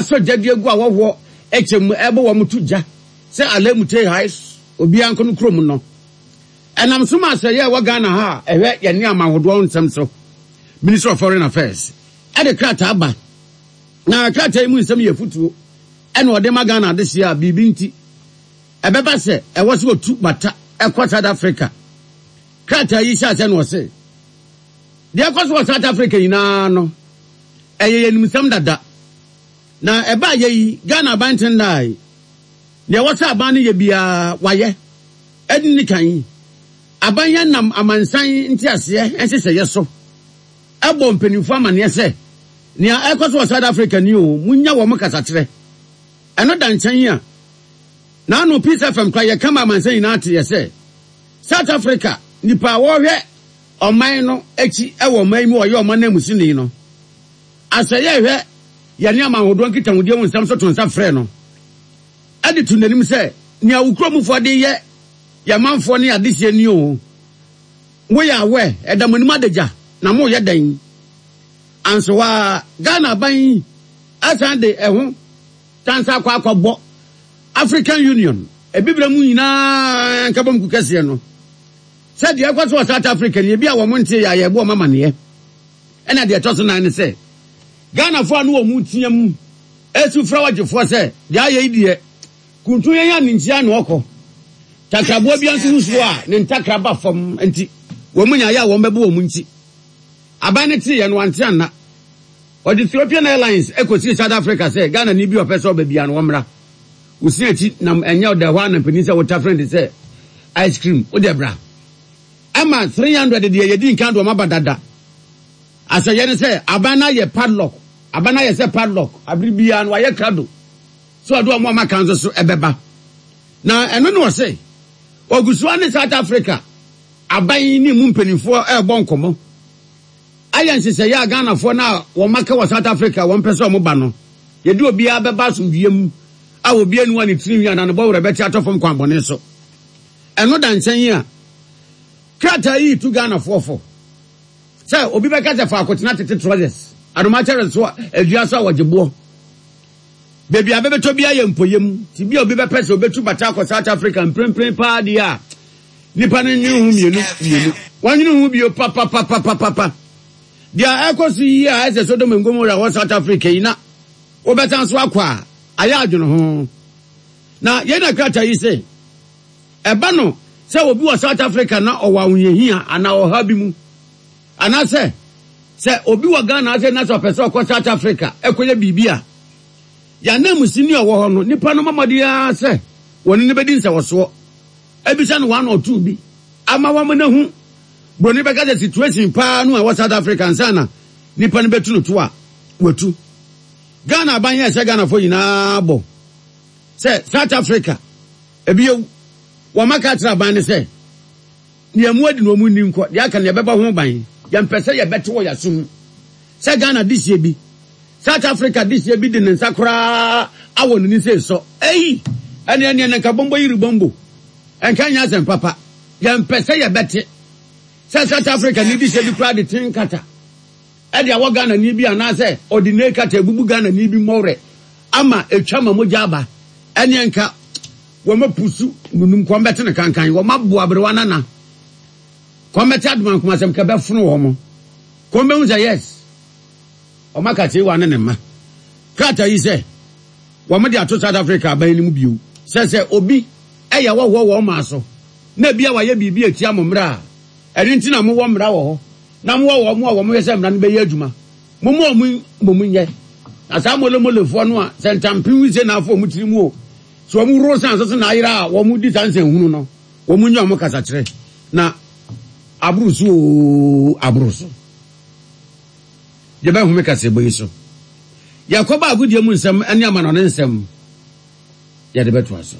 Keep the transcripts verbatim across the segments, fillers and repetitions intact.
Asɔ gya de agu ahɔhoɔ kyɛ mu rebɔ wɔn to gya sɛ Alemute Hais obiara nkɔ no kurom no. Ɛnam so ma asɛyɛ a ɛwɔ Ghana ha a ɛhwɛ yɛn nneɛma ahodoɔ nsɛm so, Ministry of Foreign Affairs, de krataa ba. Na krataa yi mu nsɛm yɛ afutuo ɛna ɔde ma Ghana adehyeɛ a biribi nti ɛbɛba sɛ ɛwɔ sɛ wɔtu bata kɔ South Africa. Krataa yi hyɛ aseɛ na ɔse, Deɛ ɛkɔ so wɔ South Africa nyinaa no, ɛyɛ yɛn animsɛm dada. Na ɛbaa yɛ yi, Ghana aban tendae. Deɛ ɛwɔ sɛ aban no yɛ biara, wayɛ. Ɛdi ne kan, aban yi nam amansan nteaseɛ nhyehyɛeɛ so bɔ mpanimfoɔ amaneɛ sɛ, nea ɛrekɔ so wɔ South Africa ni o, monnya wɔn kasakyerɛ. Ɛno da nkyɛn a, n'ano Peace F M koraa yɛka ma amansan nyinaa teeɛ sɛ, South Africa nnipa a wɔrehwɛ ɔman no akyi wɔ ɔman yi mu a ɔyɛ ɔman nanmusini no, asɛyɛ rehwɛ yɛne aman ahodoɔ nkitahodie ho nsɛm so to nsa frɛ no de to n'anim sɛ, nea wo kuromufoɔ de yɛ yɛn manfoɔ ne adehyeɛ ni o, moyɛ awɛ, ɛda mo anim adagya, na moyɛ dɛn? Anso hɔ ara, Ghana aban yi asan de ɛho tansa akɔ akɔbɔ African Union, Abibirem mu nyinaa nkabom kuo kɛseɛ no, sɛ deɛ ɛkɔ so wɔ South Africa ni, ebi a wɔn nte yɛ a yɛbɔ wɔn amaneɛ. Ɛna deɛ ɛtɔ so nan ne sɛ, Ghanafoɔ a ne wɔn teɛ mu esu frɛ ɔgyefoɔ sɛ, deɛ ayɛ yi deɛ, kuntu yɛn a ne nkyia na ɔkɔ. Takraboa bi nso wusuo a ne ntakra ba fam nti, wɔn mu nyaayɛ a wɔn bɛbɔ wɔn nti. Aban ne teeɛ no wante anna. Ɔde Ethiopian Airlines kɔsii South Africa sɛ Ghana ni bi a ɔpɛ sɛ ɔba biara no wɔmmra. Wosi akyi nam ɛnyɛ ɔda hɔ a na mpanin sɛ wotafere de sɛ ice cream wode bra. Ɛma three hundred deɛ yɛdi nkan de wɔn aba dada. Asɛyɛ ne sɛ aban no ayɛ padlock. Aban no ayɛ sɛ padlock. Abere biara no wayɛ krado. So ɔde wɔn a maka nso so ɛbɛba. Na ɛno na ɔse ogu so ne South Africa aban ne mu mpanimfoɔ ɛrebɔ nkɔmmɔ. Ayɛ nhyehyɛeɛ a Ghanafoɔ no a wɔn aka wɔ South Africa wɔn pɛ sɛ wɔn ba no, yɛde obiara bɛba asomdwoeɛ mu a obiara nni hɔ a ne tirinwi anaa ne bɔwerɛ bɛte atɔ fam kwan bɔne so. Ɛno da nkyɛn yi a, krataa yi tu Ghanafoɔ fo sɛ obi bɛka sɛ faako tena tete trousers, adomakyɛre so adua so a wɔgye boɔ. Baabi a bɛbɛtɔ bi ayɛ mpoyam, ti bi a obi bɛpɛ sɛ obetu bata akɔ South Africa mprempren paa deɛ a, nipa no nwene ho mmienu mmienu. Wɔnwene ho bio papapapapapa. Deɛ ɛkɔ so yi a ɛsɛ Sodom and Gomorrah wɔ South Africa yi na wobɛsan so akɔ a, ayɛ adwene ho. Na yɛn na krataa yi sɛ, ɛba no sɛ obi wɔ South Africa na ɔwɔ ahohiahia anaa ɔhaw bi mu, anaasɛ sɛ obi wɔ Ghana ase na sɛ ɔpɛ sɛ ɔkɔ South Africa ɛkɔyɛ biribi a, yɛn ananmusini a ɔwɔ hɔ no, nipa no mmɔden ara sɛ wɔne no bɛdi nsɛwɔsoɔ. Ebisa no one or two bi ama wɔn no ho. Broni bɛka sɛ situation paa no a ɛwɔ South Africa nsa na nipa no bɛtu no to a watu. Ghana aban yɛ sɛ Ghanafoɔ nyinaa bɔ sɛ South Africa ebi ewu. Wɔn aka akyerɛ aban no sɛ nea mu adi na wɔn nni nkɔ deɛ aka nea ɛbɛbɔ ho ban. Yɛmpɛ sɛ yɛbɛte wɔ yɛasom sɛ Ghana de sie bi South Africa de sie bi de ne nsa koraa awɔ ne nsa esɔ. Eyi ɛne ɛne ɛne nka bɔmbɔ yiri bɔmbɔ ɛnka nyɛ asɛm papa. Yɛmpɛ sɛ yɛbɛte sɛ South Africa ni de sie bi koraa de ten kata ɛde awɔ Ghana ni bi anaasɛ ɔde ne kata ebubu Ghana ni bi mmɔwerɛ ama etwa ma mogya aba. Ɛne nka wɔn apusu nunum kɔn bɛte ne kankan wɔn aboa aberewa nana kɔn bɛte adomankoma asɛm kɛ bɛfono wɔn kɔn bɛhu sɛ yes wɔn aka kyerɛ wa ne ne mma. Krataa yi sɛ wɔn de ato South Africa aban no mu bio sɛ sɛ obi ɛyɛ wɔhoɔ wɔn maa so na ebi a wayɛ biribi etia mo mmra a ɛno nti na mowɔ mmra wɔ hɔ na mowɔ wɔn a wɔn yɛ sɛ mmra no bɛyɛ adwuma mo mo ɔmo mo nyɛ na saa molemolefoɔ no a sɛ ntampem wisie na afɔ wɔn tiri mu o so wɔn wuro san so so na ayera a wɔn di saa nsɛnhunu no wɔn nyɛ wɔn kasakyerɛ na aboro so oo aboro so. Yɛbɛhome kasɛbɔ yi so. Yɛkɔba agodie mu nsɛm ne amanɔne nsɛm yɛde bɛtoa so.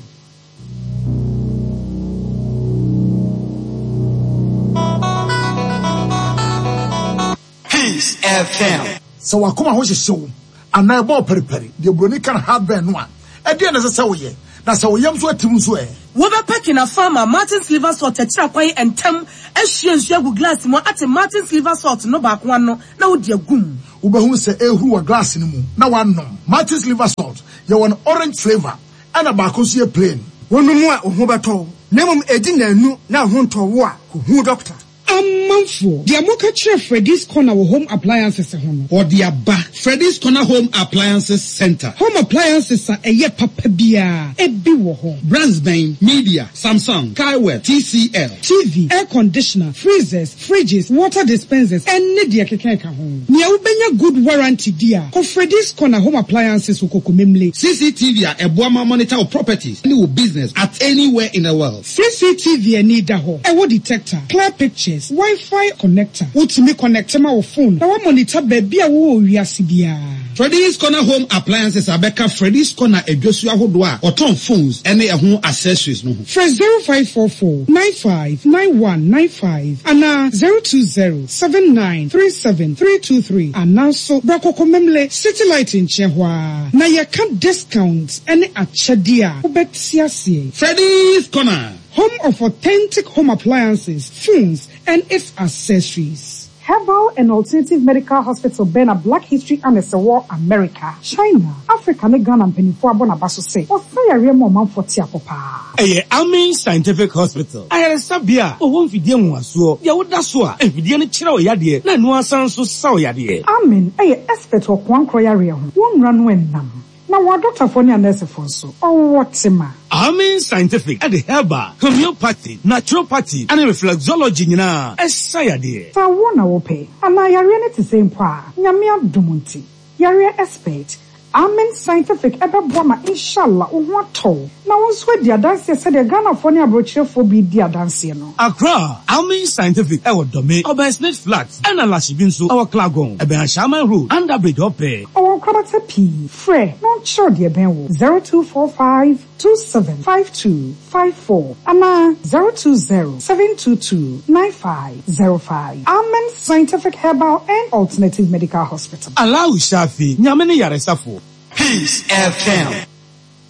Peace F M. Sɛ wakoma ho hyehye wo anaa ɛbɔ pɛripɛri deɛ buroni ka no heartburn no a, ɛdeɛ na ɛsɛ sɛ woyɛ. Na sɛ wo yam nso atim nso ɛ? Wobɛpɛ Kinapharma Martin's Liver Salt akyiri akwan ntɛm ahwie nsuo agu glass mu ate Martin's Liver Salt no baako ano na wode agu mu. Wobɛhunu sɛ ɛrehuru wɔ glass no mu na woanom. Martin's Liver Salt, yɛwɔ no orange flavour ɛna baako nso yɛ plain. Wonom a wo ho bɛtɔ wo, na mmom ɛdi nnanu na wo ho ntɔ wo a, kɔhu dɔkta. Amanfoɔ, deɛ moka kyerɛ Freddy's Corner wɔ home appliances ho no, Ɔde aba Freddy's Corner Home Appliances Center. Home appliances a ɛyɛ papa biara ebi wɔ hɔ. Brands bɛn? Midea, Samsung, Kaiwew, T C L. T V, air conditioner, freezers, fridges, water dispensers, ɛne deɛ keka ka ho. Nea wobɛnya good warranty di a, kɔ Freddy's Corner Home Appliances wɔ Kokomemle. C C T V a ɛboa ma monitor wo properties ne wo business at anywhere in the world. C C T V ani da hɔ, ɛwɔ detector, clear pictures, Wi-Fi connector. Wotumi connect ma wo phone na monitor baabi a wowɔ wiase biara. Freddy's Corner Home Appliances abɛka Freddy's Corner adwasu ahodoɔ a ɔtɔn phones ne ɛho accessories no ho. Frɛ zero five four four nine five nine one nine five anaa zero two zero seven nine three seven three two three, anaa nso bra Kokomemle City Light nkyɛn hɔ a na yɛka discount ne akyɛdeɛ a wobɛte aseɛ. Freddy's Corner, home of authentic home appliances, phones, and its accessories. Herbal and Alternative Medical Hospital bɛn na Black History Annex wɔ America, China, Africa ne Ghana mpanimfoɔ abɔ n'aba so sɛ ɔsa yareɛ ma ɔmanfoɔ te apɔ paa. Ɛyɛ Amen Scientific Hospital, ayaresabea a wɔwɔ mfidie nwanwasoɔ deɛ woda so a mfidie no kyerɛ wo yadeɛ na ɛno asan so sa wo yadeɛ. Amen ɛyɛ expert wɔ koankorɔ yareɛ ho. Wɔn nnura no ɛnam. Na wɔn adɔktafoɔ ne anɛɛsefoɔ nso, ɔwɔ tema. Amen Scientific ɛde herbal, homeopathy, naturopathy ɛne reflexology nyinaa ɛsa yadeɛ. Sɛ wo na wopɛ, anaa yareɛ no te sɛ mpo a, Nyame adom nti, yareɛ expert, Amen Scientific ɛbɛboa ma inshallah wo ho atɔ na wo nso adi adanseɛ sɛdeɛ Ghanafoɔ ne aborɔkyerɛfoɔ bi di adanseɛ no. Accra, Amen Scientific ɛwɔ Dɔme, ɔbɛn Smith Flat, ɛna Lashibi nso ɛwɔ Clagon, ɛbɛn Ashaiman Road, under bridge ɔpɛ. Ɔwɔ nkorabata pii. Frɛ na ɔnkyerɛw deɛ ɛbɛn wo zero two four five two seven five two five four anaa zero two zero seven two two nine five zero five. Amen Scientific Herbal and Alternative Medical Hospital. Allahu Shafi, Nyame ne yaresafo. Peace F M.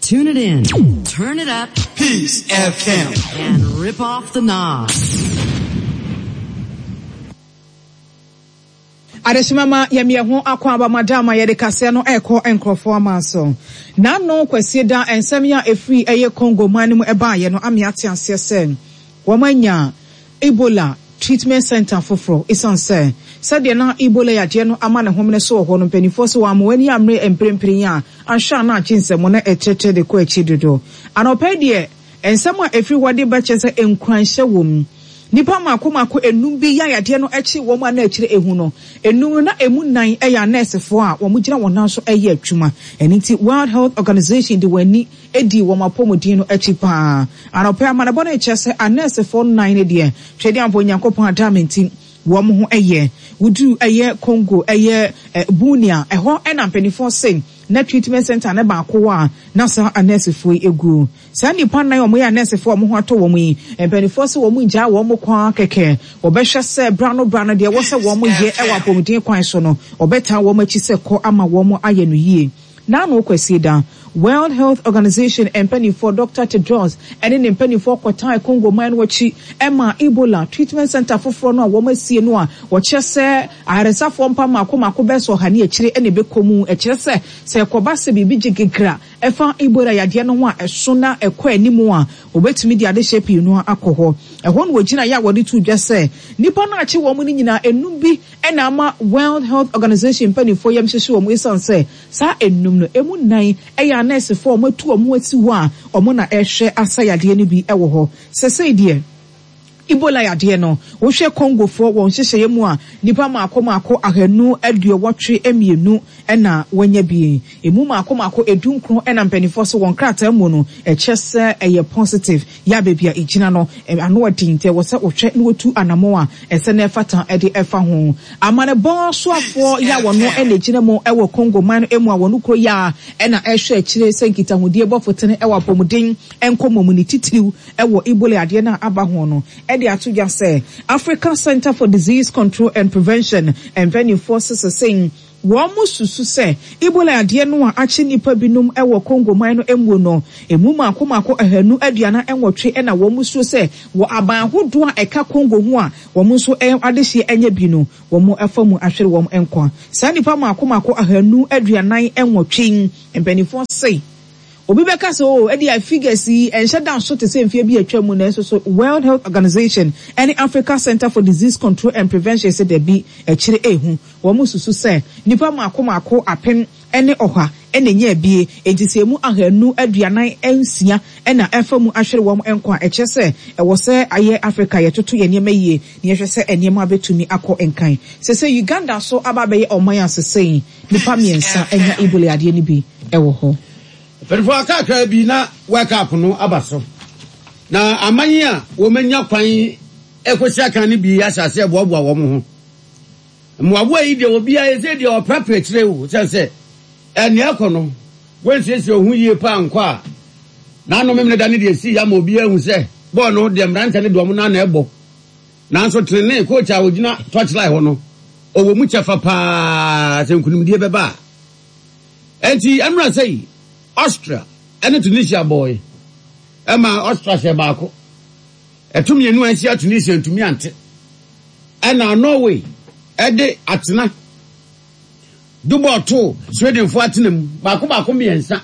Tune it in, turn it up, Peace F M. And rip off the knob. Adehyemama, yɛmeyɛ ho akɔ abamadam a yɛde kaseɛ no ɛrekɔ nkurɔfoɔ ama so. N'ano Kwasie da nsɛm yi a ɛfiri ɛyɛ Congo man no mu ɛbaeɛ no ame ate aseɛ sɛ wɔn anya Ebola treatment center foforɔ, ɛsiane sɛ sɛdeɛ na Ebola yadeɛ no ama ne homene so wɔ hɔ no, mpanimfoɔ sɛ wɔn ama wɔn ani amere mprempren a ahwɛ a na agye nsɛm no ɛkyerɛkyerɛ de kɔ akyi dodo. Anɔpɛ deɛ, nsɛm a ɛfiri hɔ de bɛkyɛ sɛ nkuranhyɛ wɔ mu. Nipa mako mako enum bi yɛ ayadeɛ no akyi wɔn a na akyire ehu no enum na emu nan yɛ anɛɛsefoɔ a wɔn gyina wɔn nan so yɛ adwuma. Ɛno nti World Health Organization de wɔn ani edi wɔn apɔmuden no akyi paa. Anɔpɛ amanebɔ no kyerɛ sɛ anɛɛsefoɔ nan no deɛ, twɛdeɛ ampo Onyankopɔn adame nti wɔn ho yɛ wodu ɛyɛ Congo ɛyɛ Bunia, ɛhɔ ɛna mpanimfoɔ se na treatment center ne baako wɔ a na saa anɛɛsefoɔ yi egu. Saa nipa nan a wɔyɛ anɛɛsefoɔ a wɔn ho atɔ wɔn yi, mpanimfoɔ sɛ wɔn ngyaa wɔn kwan kɛkɛ, wɔbɛhwɛ sɛ bra no bra no deɛ wɔsɛ wɔn yɛ ɛwɔ apɔmuden kwan so no, wɔbɛtaa wɔn akyi sɛ kɔ ama wɔn ayɛ no yie. N'ano Kwasie da World Health Organization mpanimfoɔ Doctor Tedros ɛne ne mpanimfoɔ kɔtaa Congo man no akyi ɛma Ebola treatment center foforɔ no a wɔn asie no a wɔkyerɛ sɛ ayaresafoɔ mpa mako mako bɛsɔ ɔha ne akyire ɛna ɛbɛkɔ mu. Ɛkyerɛ sɛ sɛ ɛkɔba sɛ biribi gye gekra ɛfa Ebola yadeɛ no ho a ɛso na ɛkɔ anim a, wɔbɛtumi de adehyɛ pii no akɔ hɔ. Ɛhɔ no wɔgyina yɛ a wɔde to dwa sɛ nipa no akye wɔn no nyinaa, enum bi ɛna ama World Health Organization mpanimfoɔ yam hyehyɛ wɔn, esiane sɛ saa enum no emu nan ɛyɛ anɛɛsefoɔ a wɔn atu wɔn asi hɔ a wɔn na ɛrehwɛ asa yadeɛ no bi ɛwɔ hɔ. Sɛsɛɛ deɛ, Ebola yadeɛ no, wohwɛ Congofoɔ wɔn nhyehyɛeɛ mu a, nipa mako mako ahanu aduɔwɔtwe mmienu ɛna wɔanya bi. Emu mako mako edu nkron ɛna mpanimfoɔ so wɔn krataa mu no ɛkyɛ sɛ ɛyɛ positive. Yɛ baabi a egyina no ano ɔden, nti ɛwɔ sɛ wɔhwɛ na wɔtu anamɔ a ɛsɛ na ɛfata ɛde ɛfa ho. Amanebɔ soafoɔ yɛ a wɔn ɛna egyina mu ɛwɔ Congo man no mu a wɔn kuro yɛ a ɛna ɛhwɛ akyire sɛ nkitahodie bɔfo tene ɛwɔ apɔmuden nkɔmɔ mu, ne titiriw ɛwɔ Ebola adeɛ no a aba ho no, ɛde ato dwa sɛ Africa Center for Disease Control and Prevention mpanimfoɔ sesesɛn Wɔsusu sɛ Ebola yadeɛ no a akye nnipa binom wɔ Congo man no mu no, emu mmaako mmaako ahanu aduanan nwɔtwe na wɔsuro sɛ wɔ aban ahodoɔ a ɛka Congo ho a wɔn nso adehyeɛ anya bi no, wɔafa mu ahwere wɔn nkwa. Saa nnipa mmaako mmaako ahanu aduanan nwɔtwe yi, mpanimfoɔ se obi bɛka sɛ, Oh, ɛdeɛ figures yi ɛnhyɛ da nso te sɛ mfeɛ bi a atwa mu, nanso so World Health Organization ne Africa Centre for Disease Control and Prevention se dabi, akyire ɛrehu. Wɔsusu sɛ nnipa mmaako mmaako apem ne ɔha na ɛnya abie, enti sɛ emu ahanu aduanan nsia na ɛfa mu ahwere wɔn nkwa a, ɛkyerɛ sɛ ɛwɔ sɛ ayɛ Afrika yɛtoto yɛn nneɛma yie na yɛhwɛ sɛ nneɛma bɛtumi akɔ nkan. Seesei Uganda nso aba abɛyɛ ɔman a sesei nnipa mmiɛnsa anya Ebola yadeɛ no bi wɔ hɔ. Mpanimfoɔ kakra bi na World Cup no aba so, na aman a wɔanya kwan kɔsi akan no bi ahyɛ aseɛ boaboa wɔn ho. Mmoaboa yi deɛ obiara yɛ sɛ deɛ ɔprapra akyire o, sɛ sɛ ɛnea ɛkɔ no wɔnsiesie ho yie paa nkɔ a, n'ano memene da ne deɛ ɛsii ama obiara ahu sɛ bɔɔl no deɛ mmeranteɛ no de wɔn nan na ɛbɔ. Nanso tenenee coach a ɔgyina touchline hɔ no, ɔwɔ mu kyɛfa paa sɛ nkunimdie bɛba a. Enti ɛnora sɛ yi, Austria ne Tunisia bɔɔe ɛma Austria hyɛ baako. Ɛto mmienu a ɛhyia Tunisia ntumi ante. Ɛna Norway ɛde atena de bɔɔl too Swedenfoɔ atena mu baako baako mmiɛnsa.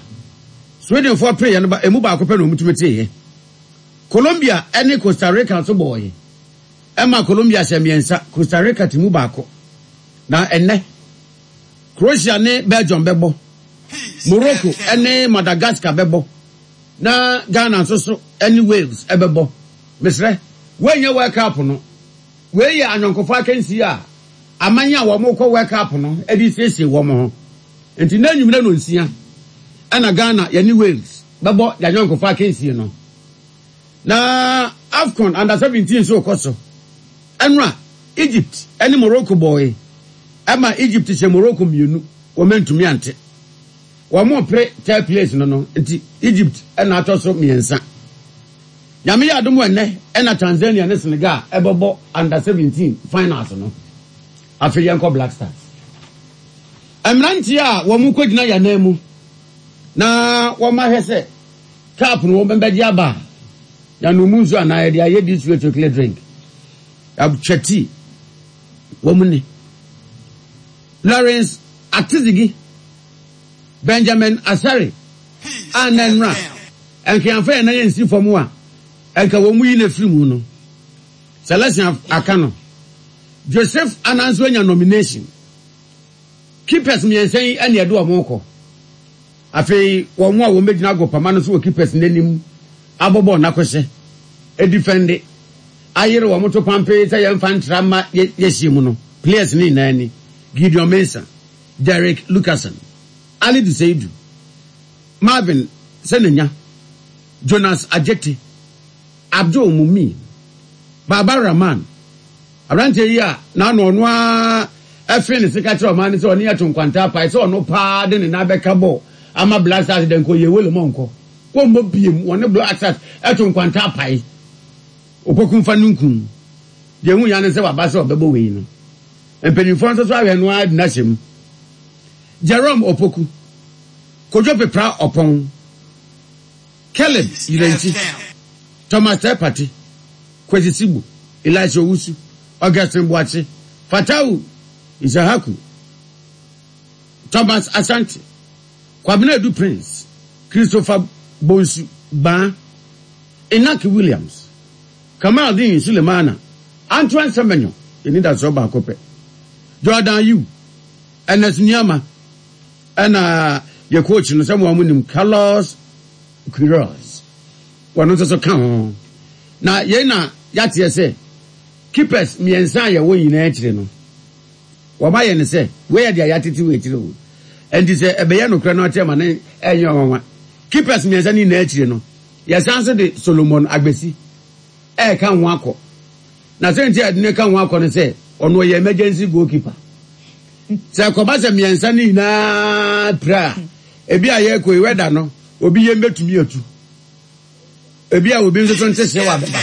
Swedenfoɔ pereeɛ no ba emu baako pɛ na wɔtumi teeɛ. Colombia ne Costa Rica nso bɔɔe ɛma Colombia hyɛ mmiɛnsa, Costa Rica te mu baako. Na ɛnnɛ Croatia ne Belgium bɛbɔ, Morocco ne Madagascar bɛbɔ, na Ghana nso so ne Wales bɛbɔ. Mesrɛ, woanyɛ World Cup no. Wei yɛ anyɔnkofa akansie a aman a wɔrekɔ World Cup no de siesie wɔn ho. Nti na anwummerɛ nonsia ɛna Ghana yɛne Wales bɛbɔ yɛn anyɔnkofa akansie no. Na AFCON Under seventeen nso rekɔ so. Ɛnora Egypt ne Morocco bɔɔe. Ɛma Egypt hyɛ Morocco mmienu, wɔn antumi ante. Wɔn repere third place no no nti Egypt na atɔ so mmiɛnsa. Nyame yɛ adom ɛnnɛ ɛna Tanzania ne Senegal ɛbɛbɔ Under seventeen finals no. Afei yɛnkɔ Black Stars. Mmeranteɛ a wɔn kɔgyina yɛn anan mu na wɔn ahwɛ sɛ cup no wɔn bɛgye aba a, yɛnom mu nsuo anaa yɛde ayɛ this way chocolate drink. Yɛatwa tea. Wɔn ne Lawrence Atizigi, Benjamin Asare a na nnora nkeamfa yɛn nan nsi fam a nka wɔn mu yi na firi mu no. Celestin aka no. Joseph Ananso anya nomination. Keepers mmiɛnsa yi na ɛde wɔn kɔ. Afei wɔn a wɔn bɛgyina agopama no so wɔ keepers n'anim abɔ bɔɔl n'akɔhyɛ, edifɛnde, ayere wɔn to pampee sɛ yɛmfa ntra mma yɛhyia mu no. Players ne nyinaa ni: Gideon Mensah, Derek Lucasen, Alidu Seidu, Marvin Senenya, Jonas Ajete, Abdul Mumin, Baba Rahman. Aberanteɛ yi a n'ano ɔno ara ɛfee ne sika kyerɛ ɔman no sɛ ɔne yɛto nkwanta apae sɛ ɔno paa de ne nan bɛka bɔɔl ama Black Stars dɛ nkɔ yɛ wele mɔ nkɔ wɔmmɔ biem wɔne Black Stars ɛto nkwanta apae Opoku mfa no nkum deɛ ehu ya ne sɛ waba sɛ ɔbɛbɔ wei no. Mpanimfoɔ nso so ahwɛ no ara de n'ahyɛ mu. Jerome Opoku, Kojo Pepra Ɔpɔn, Caleb Yirenkyi, Thomas Tepati, Kwesi Sibu, Elisha Owusu, Augustine Boakye, Fatawu Issahaku, Thomas Asante, Kwabena Adu Prince, Christopher Bonsu Gbaa, Inaki Williams, Kamaldeen Sulemana, Antoine Semenyo, yɛni baako pɛ, Jordan Ayew, Ernest Nuamah, ɛna yɛ coach no sɛ mo a mo nim Carlos Queiroz, wɔn nso so ka ho. Na yɛn na yɛateɛ sɛ keepers mmiɛnsa a yɛwɔ nyinaa akyire no, wɔn ayɛ ne sɛ wei yɛ deɛ yɛatete wɔ akyire o. Nti sɛ ɛbɛyɛ nokorɛ no akyerɛ ma ne ɛnyɛ ɔnwanwa. Keepers mmiɛnsa no nyinaa akyire no, yɛsan so de Solomon Agbesi ɛɛka ho akɔ. Na sɛ nti a yɛde ne ka ho akɔ no sɛ ɔno ɔyɛ emergency goalkeeper. Sɛ ɛkɔba sɛ mmiɛnsa no nyinaa pira a, ebi a yɛrekɔ yi wɛda no, obi yɛn bɛtumi atu. Ebi a obi nso so nte hyew abɛba.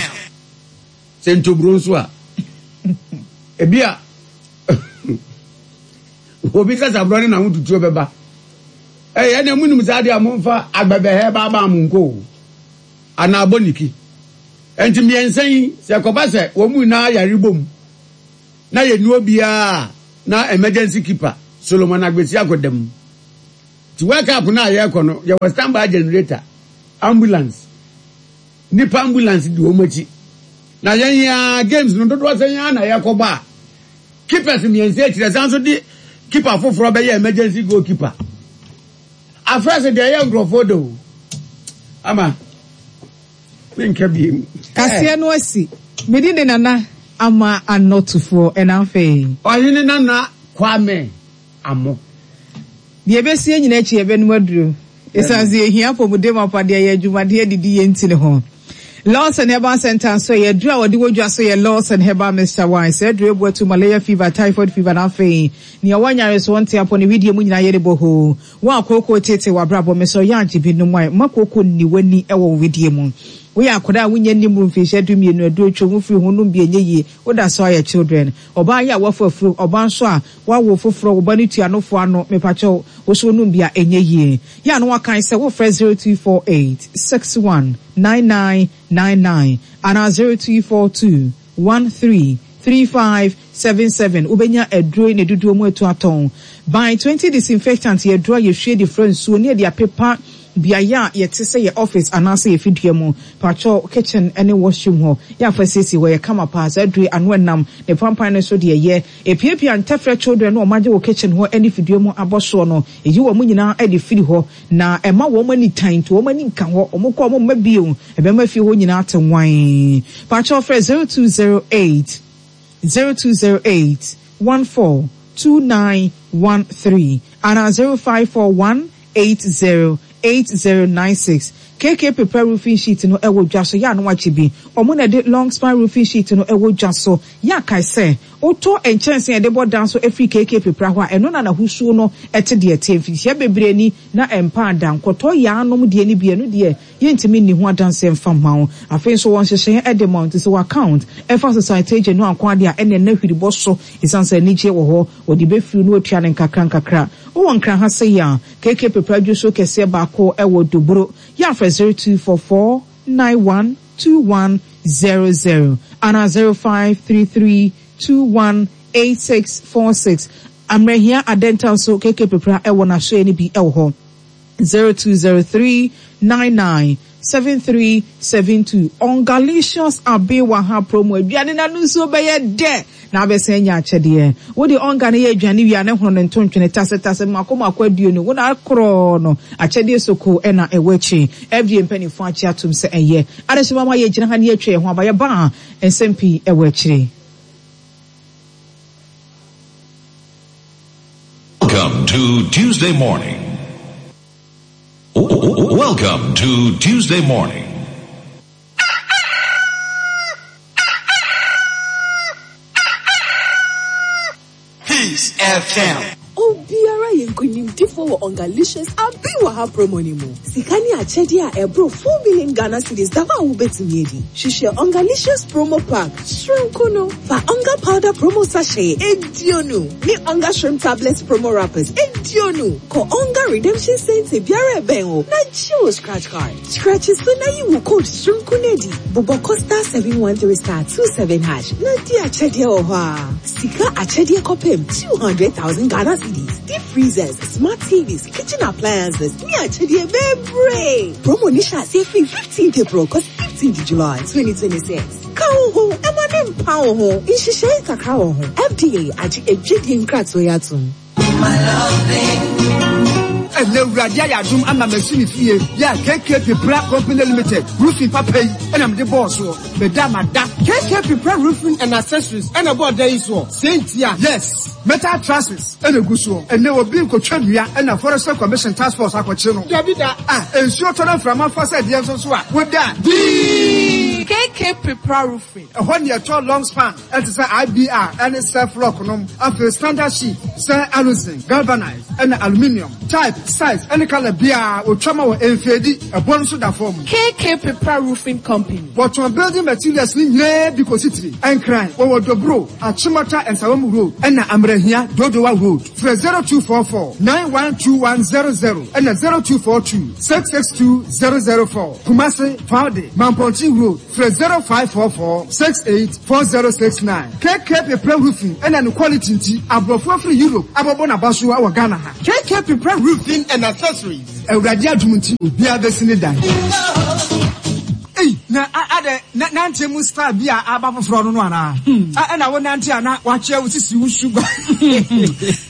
Sɛ ntoburo nso a, ebi a Obi sasaborɔ ne n'ahotutuo bɛba. Ɛyɛ ɛna mu nim saa deɛ a momfa agbɛbɛhɛ baabaa mo nko o. Anaa abɔniki. Enti mmiɛnsa yi, sɛ ɛkɔba sɛ wɔn mu nyinaa yare bom na yɛnni obiara na emergency keeper Solomon Agbesi akɔda mu. Nti World Cup no a yɛrekɔ no, yɛwɔ standby generator, ambulance, nipa ambulance di wɔn akyi. Na yɛn ya games no dodoɔ sɛ yɛn na yɛrekɔbɔ a, keepers mmiɛnsa akyire san so de keeper foforɔ bɛyɛ emergency goalkeeper. Afrɛ sɛ deɛ ɛyɛ nkurɔfoɔ de o. Ama menka biem. Kaseɛ no asi. Medi ne nana ama anɔtofoɔ ɛna afei. Ɔhene Nana Kwame Amo. Deɛ ɛbɛsie nyina akyi yɛbɛnum aduro. Ɛsiane sɛ yɛhia apɔmuden mapa deɛ yɛ adwumadeɛ didi yɛn ntini ho. Lawson Herbal Center nso yɛ aduro a wɔde wɔ dwa so yɛ Lawson Herbal Mixture Wine. Sɛ aduro ebu atu malaria fever, typhoid fever na afei nea wɔanyare so wɔnte apɔ ne widie mu nyinaa yɛ ne bɔ hoo. Wɔn a kooko tete wɔ abrabɔ me sɛ ɔyɛ agye bi nom a mma kooko nni w'ani wɔ wo widie mu. Woyɛ akwadaa a wonyɛ nim mfirihyia du mmienu aduro twom wofiri ho nom bi ɛnyɛ yie woda so ayɛ children. Ɔbaa yi a wafa afuro ɔbaa nso a wawo foforɔ wo ba no tua nofoɔ ano mepakyɛw wo so nom bi a ɛnyɛ yie. Yɛ a no wakan sɛ wofrɛ zero two four eight six one nine nine nine nine anaa zero two four two one three three five seven seven wobɛnya aduro ne dodoɔ mu atu atɔn. By twenty disinfectant yɛ aduro a yɛhwie de fra nsuo ne yɛde apepa beaeɛ a yɛte sɛ yɛ office anaasɛ yɛ fidua mu. Pakyɛw kitchen ne washroom hɔ yɛ afa siesie hɔ yɛ kama paa. Saa aduro ano ɛnam ne pampan no so deɛ yɛ epiapia ntɛfrɛ children no ɔmo agye wɔ kitchen hɔ ne fidua mu abɔ soɔ no eyi wɔn nyinaa de firi hɔ na ɛma wɔn ani tan nti wɔn ani nka hɔ wɔn kɔ wɔn mma bio ɛbɛma fie hɔ nyinaa te nwan. Pakyɛw frɛ zero two zero eight zero two zero eight one four two nine one three ana zero five four one eight zero eight zero nine six. K K Prepare roofing sheet no ɛwɔ dwa so ya no wakye bi. Ɔmo na de long span roofing sheet no ɛwɔ dwa so. Ya kai sɛ wotɔ nkyɛnsee yɛde bɔ dan so efiri K K Prepare hɔ a ɛno na n'ahosuo no ɛte deɛ te mfirihyia bebree ni na ɛmpa ada nkɔtɔ yaanom deɛ ni bi ɛno deɛ yɛntumi nni ho adanseɛ mfa mma wo. Afei nso wɔn nhyehyɛeɛ ɛde ma wo nti sɛ wɔ account ɛfa society agent no anko adeɛ a ɛne ɛna hwiri bɔ so ɛsiane sɛ anigyeɛ wɔ hɔ wɔde bɛfiri no atua ne nkakra nkakra. Wowɔ nkran ha sɛ yi a K K Prepare adwo so kɛseɛ baako ɛwɔ Doboro. Yɛafrɛ zero two four four nine one two one zero zero ana zero five three three two one eight six four six. Amrehia Adenta nso K K Prepare ɛwɔ n'asoɛ no bi ɛwɔ hɔ zero two zero three nine nine seven three seven two. Ongalicious Abewa ha promo aduane na no nso bɛyɛ dɛ na abɛsɛn nya akyɛdeɛ. Wode onga ne yɛ aduane wia ne hono ne ntontwene tase tase mako mako aduonu wo na akorɔ no akyɛdeɛ soko ɛna ɛwɔ akyi. F D A mpanimfoɔ akyi atom sɛ ɛyɛ. Adehyema ma yɛgyina ha ne yɛatwa yɛn ho aba yɛba a nsɛm pii ɛwɔ akyire. Welcome to Tuesday morning. Welcome to Tuesday morning. Peace F M. Obiara yenkunimdifo wɔ Ongalicious Abewa ha promo ni mu. Sika ni akyɛdeɛ a ɛboro four million Ghana cedis da hɔ a wobɛtumi adi. Hwehwɛ Ongalicious promo pack soronko no. Fa Onga powder promo sachet eduonu ne Onga shrimp tablets promo wrappers eduonu. Kɔ Onga redemption center biara ɛbɛn wo na gye wo scratch card. Scratch so na yi wo code soronko no adi. Bobɔ kɔ star seven one three star two seven hash na di akyɛdeɛ wɔ hɔ a. Sika akyɛdeɛ kɔpem two hundred thousand Ghana cedis. Deep freezers, smart T Vs, kitchen appliances, ne akyɛdeɛ bebree. Promo ni hyɛ aseɛ firi fifteenth April kɔsi fifteenth July twenty twenty-six. Ka wo ho, ɛma ne mpa wo ho. Nhyehyɛe kakra wɔ ho. F D A agye adwadie nkratoɔ yi atom. Ɛnɛ Awurade ayɛ adom ama masi ne fie. Yɛ K K Prepare Company Limited. Roofing papa yi ɛna mede bɔɔ soɔ. Meda mada. K K Prepare Roofing and Accessories ɛna bɔɔ da yi soɔ. Sɛntia. Yes. Metal trusses ɛna egu soɔ. Ɛnɛ obi nkotwa nnua ɛna Forestry Commission Task Force akɔkye no. Dabi da. Ah, nsuo tɔ na mframa fa sɛ deɛ nso so a, woda. Dii. K K Prepare Roofing. Ɛhɔ ne ɛtɔ long span ɛte sɛ I B R ɛne self lock nom. Afei standard sheet, Sɛ aluzinc, galvanized, ɛna aluminium, type, size, ɛne colour biara otwa ma wɔ mfeedi, ɛbɔ no nso da fam. K K Pepra Roofing Company. Wɔtɔn building materials ne nyinaa bi kɔsi tiri. Ɛnkran, wɔwɔ Dobro, Achimota Nsawam Road, ɛna Amrahia Dodowa Road. Frɛ zero two four four nine one two one zero zero ɛna zero two four two six six two zero zero four. Kumasi, Faude, Mampontin Road. Frɛ zero five four four six eight four zero six nine. K K Pepra Roofing ɛna ne quality nti aborɔfo afiri Europe abɔbɔ n'aba so wɔ Ghana ha. K K Pepra Roofing and Accessories. Awurade adum nti obiara bɛsi ne dan. Ei, na adɛ na nante mu style bi a aba foforɔ no no anaa? Ɛna wo nante a na wakyerɛ wo sisi wo sugar.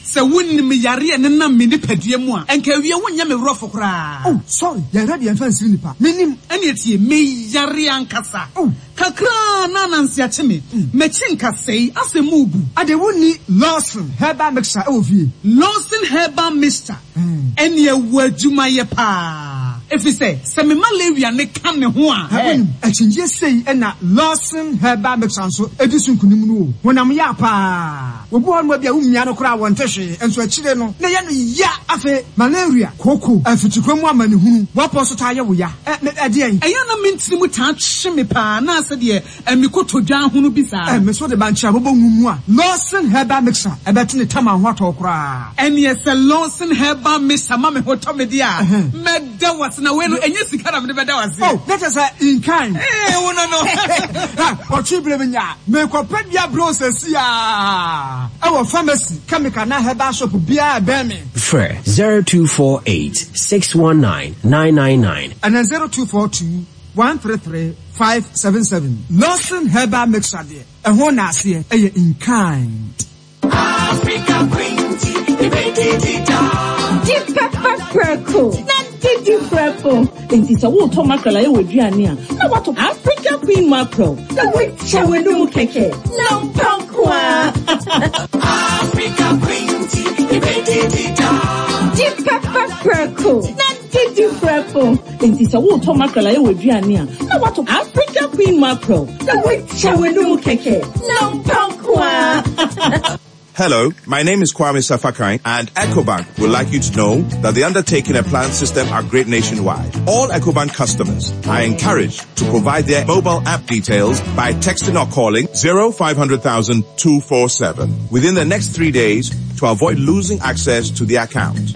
Sɛ wonim yareɛ ne nam me nipadua mu a, ɛnka awie wonyɛ me worɔfo koraa. Oh, sorry, yɛrɛ deɛ mfa nsiri nipa menim. Ɛne tie, meyare ankasa. Oh. Kakraa na ananse akye me, m'akyi nkasɛe asɛ mu bu. Ade, wonni Lawson Herbal Mixture ɛwɔ fie? Lawson Herbal Mixture, ɛne ɛwɔ adwumayɛ paa, ɛfiri sɛ sɛ me malaria ne ka ne ho a. Wonim akyinnyie sei, ɛna Lawson Herbal Mixture nso ɛdi so nkonim no o. Honam yɛ paa, obi hɔ noma bi a womia no koraa wɔnte hwee, nso akyire no na yɛ no ya. Afei malaria, kooko, afikyikwa mu amanehunu, woapɔ so taa yɛ wo ya, ɛdeɛn? Ɛyɛ na mentiri mu taa twe me paa na sɛ deɛ mekɔtɔ dwa ho no bi saa. Ɛ me so de bankyɛ abobɔ nwu mu a, Lawson Herbal Mixture ɛbɛte ne tam ho atɔ koraa. Ɛneɛ sɛ Lawson Herbal Mixture ma me ho tɔ me deɛ a, mɛda wase. Na wei no ɛnyɛ sika na mede bɛda wase. Oh, na kyerɛ sɛ in kind. Ee, wo no no. Ɔtwe bere mi nya mekɔpɛ bia bro sɛsi a ɛwɔ pharmacy, chemical na herbal shop biara bɛn me. Frɛ zero two four eight six one nine nine nine nine. Ɛnɛ zero two four two one three three five seven seven. Lawson Herbal Mixture deɛ, ɛho na aseɛ ɛyɛ in kind. Africa Queen, Di pepper prɛko na didi prɛko. Nti sɛ wotɔ mackerel a ɛwɔ aduane a, na watɔ Africa Queen mackerel na woakyɛ w'anum kɛkɛ na mpa nko a. Africa Queen, Di pepper prɛko na didi prɛko. Nti sɛ wotɔ mackerel a ɛwɔ aduane a, na watɔ Africa Queen mackerel na woakyɛ w'anum kɛkɛ na mpa nko a. Hello, my name is Kwame Sefa Kayi, and EcoBank would like you to know that they're undertaking a planned system upgrade nationwide. All EcoBank customers are encouraged to provide their mobile app details by texting or calling zero five hundred thousand two four seven within the next three days to avoid losing access to the account.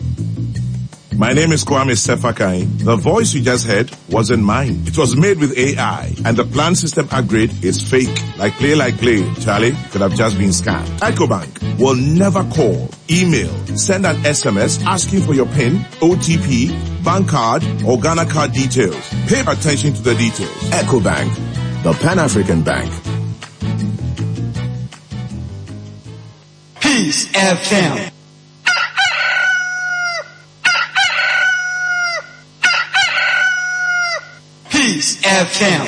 My name is Kwame Sefa Kayi. The voice you just heard wasn't mine. It was made with A I, and the planned system upgrade is fake. Like play, like play. Charlie could have just been scammed. EcoBank will never call, email, send an S M S asking for your PIN, O T P, bank card, or Ghana card details. Pay attention to the details. EcoBank, the Pan-African Bank. Peace F M. Peace F M.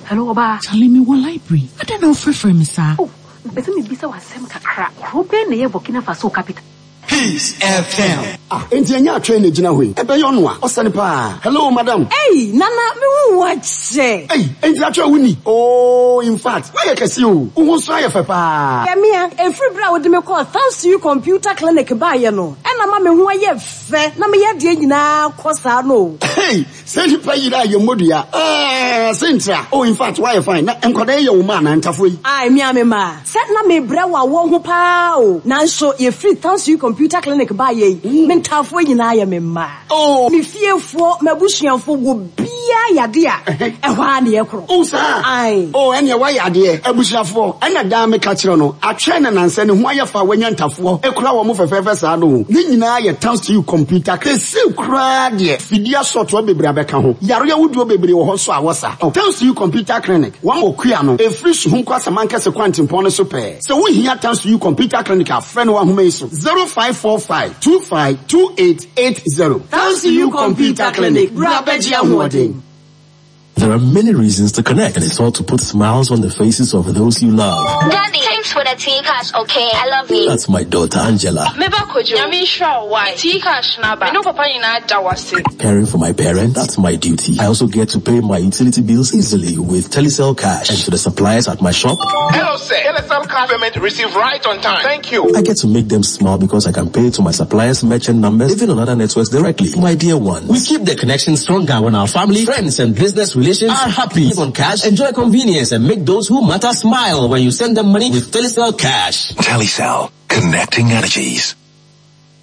Hello, ɔbaa. Charlie, me wɔ library. Adɛn na wofrɛfrɛ me saa? Oh, mpɛ sɛ mebisa w'asɛm kakra. Kuro bɛn na ɛyɛ Burkina Faso capital? Peace F M. Ah, enti ɛnyɛ atwɛn na gyina hɔ yi. Ɛbɛyɛ ɔno a, ɔsɛne paa. Hello, madam. Ei, Nana, me wo wa kyɛ. Ei, enti atwɛn wo ni. Oh, in fact, woayɛ kɛse o. Wo ho nso ayɛ fɛ paa. Yɛmea, ɛfiri berɛ a wode me kɔɔ Thanks to You Computer Clinic baeɛ no, ɛna ma me ho ayɛ fɛ na meyɛ adeɛ nyinaa kɔ saa no. Hey, sɛ nipa yiri a yɛ mmɔdua. Ah, sɛ Oh, in fact, woayɛ fine. Na nkwadaa yi yɛ wo ma anaa ntafo yi? Ai, me a me ma. Sɛ na mebrɛ wɔ awɔ ho paa o. Nanso yɛfiri Thanks to You Computer Clinic baeɛ yi, me ntaafoɔ nyinaa yɛ me mma. Oh. Me fiefoɔ, m'abusuafoɔ, wɔ biara yade a, ɛhɔ a ne yɛkorɔ. Oh, saa. Ai. Oh, ɛneɛ woayɛ adeɛ. Abusuafoɔ, ɛna daa meka kyerɛ no, atwɛn na nansɛ ne ho ayɛ fa wanya ntafoɔ. Ekura wɔn mo fɛfɛɛfɛ saa no. Ne nyinaa yɛ Thanks to You Computer. Kese koraa deɛ, fidie asɔtoɔ bebree abɛka ho. Yareɛ ahodoɔ bebree wɔ hɔ so a wɔsa. Oh, Thanks to You Computer Clinic, wɔn wɔ kua no, efiri Suhum kɔ Asamankɛse kwantempɔn no so pɛɛ. Sɛ wohia Thanks to You Computer Clinic a, frɛ no wɔ ahoma yi so: zero five four five two five two eight eight zero. Thanks to You Computer Clinic, bra bɛgye ahoɔden. There are many reasons to connect, and it's all to put smiles on the faces of those you love. Daddy, Thanks for the T-Cash, okay? I love you. That's my daughter, Angela. Meba Kojo. Nyame nhyira wo why? T-Cash na ba. Me no papa nyinaa da wase. Caring for my parents, that's my duty. I also get to pay my utility bills easily with Telecel Cash. And to the suppliers at my shop. Hello, sir. Telecel Cash payment received right on time. Thank you. I get to make them smile because I can pay to my suppliers' merchant numbers, even on other networks directly. My dear ones. We keep the connection stronger when our family, friends, and business relations are happy. Live on cash, enjoy convenience, and make those who matter smile when you send them money with Telecel Cash. Telecel, connecting energies.